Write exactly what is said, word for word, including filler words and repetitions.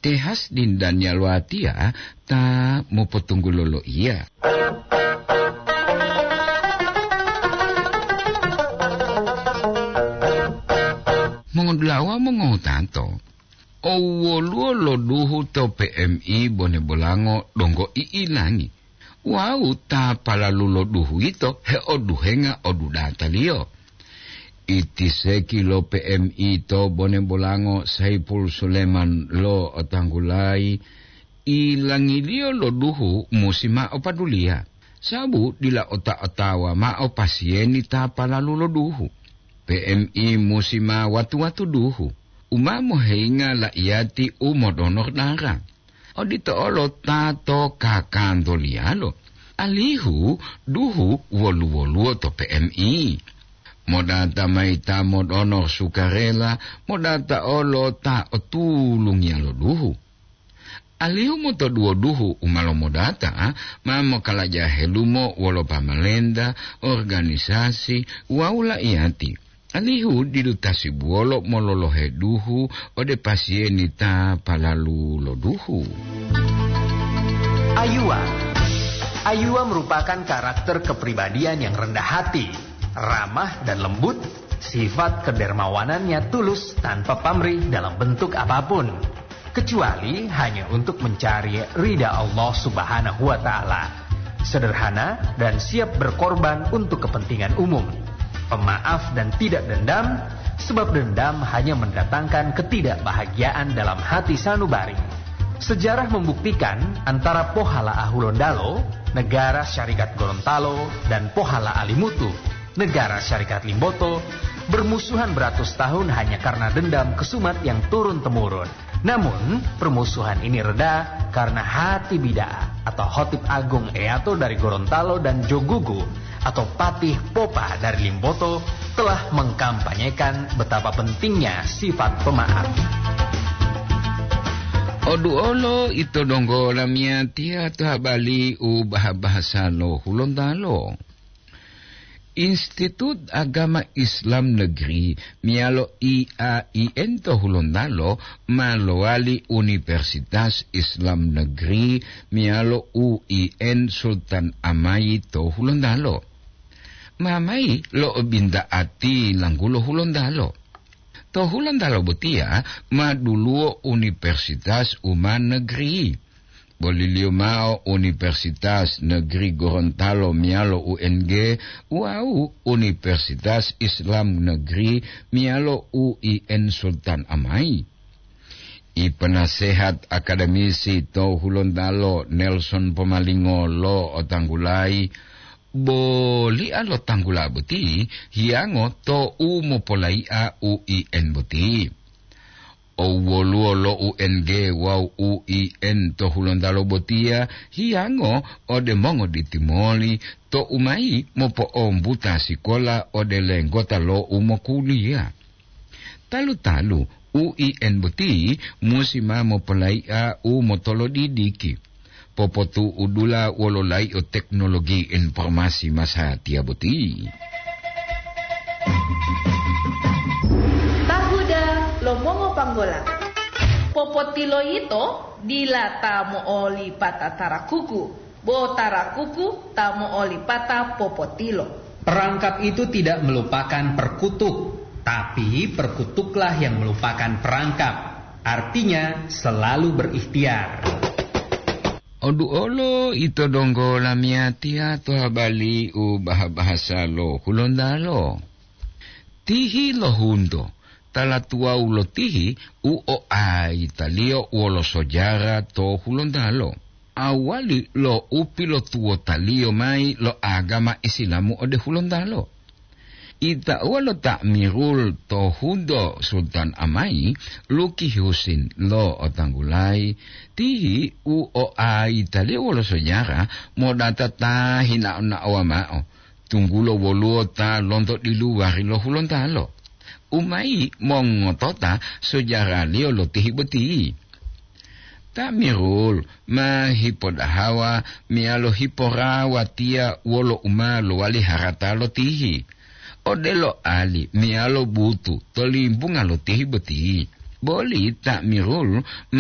Te Hasdin Daniel watiya ta mopotunggulo loiya. Mongodulawa mongotato, o woluwo lo duhu to P M I Bone Bolango donggo i'ilangi. Wawu ta palalu lo duhu yito heoduhenga odudataliyo. Itiseki lo P M I to Bone Bolango Saipul Suleman lo otanggulayi, ilangiliyo lo duhu musi mao paduliya, sabu dila ota-otawa mao pasiyeni ta palalu lo duhu. P M I musi ma watu-watu duhu, u ma moheyinga la'iyati u modonor dara. Odito olo ta to kakantoliyalo, alihu duhu wolu-woluwo to P M I. Modata mayi ta modonor sukarela, modata olo ta otulungiya lo duhu. Alihu motoduwo duhu u ma lomodata ma mokalaja helumo wolo pamalenta, organisasi wawu la'iyati. Alihu didu tasibuwolo mololohe duhu ode pasiyeni ta palalu lo duhu. Ayuwa. Ayuwa merupakan karakter kepribadian yang rendah hati, ramah dan lembut, sifat kedermawanannya tulus tanpa pamrih dalam bentuk apapun. Kecuali hanya untuk mencari ridha Allah Subhanahu wa Ta'ala. Sederhana dan siap berkorban untuk kepentingan umum. Pemaaf dan tidak dendam, sebab dendam hanya mendatangkan ketidakbahagiaan dalam hati sanubari. Sejarah membuktikan antara Pohala Ahulondalo, Negara Syarikat Gorontalo, dan Pohala Alimutu, Negara Syarikat Limboto, bermusuhan beratus tahun hanya karena dendam kesumat yang turun-temurun. Namun, permusuhan ini reda karena Hati Bida atau Hotib Agung Eato dari Gorontalo dan Jogugu atau Patih Popa dari Limboto telah mengkampanyekan betapa pentingnya sifat pemaaf. Oduolo ito donggo lamiyatiya to habali u bahasa lo Hulontalo. Institut Agama Islam Negeri meyalo I A I N to Hulontalo ma lowali Universitas Islam Negeri meyalo U I N Sultan Amayi to Hulontalo. Ma mayi lo obinta'ati langgulo Hulontalo. To Hulontalo botiya ma duluwo universitas u ma negeri. Boliliyo mao Universitas Negeri Gorontalo meyalo U N G wawu Universitas Islam Negeri meyalo U I N Sultan Amayi. I penasehat akademisi to Hulontalo Nelson Pomalingo lo otanggulayi, bolia lo tanggula boti hiyango to u mopolayi'a U I N boti. O woluwo lo U N G wawu U I N to Hulontalo botiya hiyango ode mongoditimoli to u mayi mopo'ombuta sikola ode lenggota lo u mokuliya. Talu-talu U I N boti musi ma mopolayi'a u motolodidiki, popotu'udula wolo layi'o teknologi informasi masatiya boti. Tahuda lo mongopanggola. Popotiloyito dila ta mo'olipata tarakuku, bo tarakuku ta mo'olipata popotilo. Perangkap itu tidak melupakan perkutuk, tapi perkutuklah yang melupakan perangkap. Artinya, selalu berikhtiar. Oduolo ito donggo lamiyatiya to habali u baha-bahasa lo Hulontalo. Tihi lo hunto, tala tuwawu lo tihi u oaitaliyo wolo sojara to Hulontalo. Awali lo u pilotuwotaliyo mayi lo agama Isilamu ode Hulontalo. Itauwa lo Ta'mirul to hunto Sultan Amayi, Luki Husin lo otanggulayi, tihi u oaitaliyo wolo sojara modata ta hinao-naowa mao, tunggulo woluwo ta lonto diluwari lo Hulontalo. U mayi mongotota sojaraliyo lo tihi boti. Ta'mirul ma hipodahawa meyalo hiporawatiya wolo u ma lowali harata lo tihi. Odelo ali meyalo butu to limbunga lo tihi boti. Boli Ta'mirul ma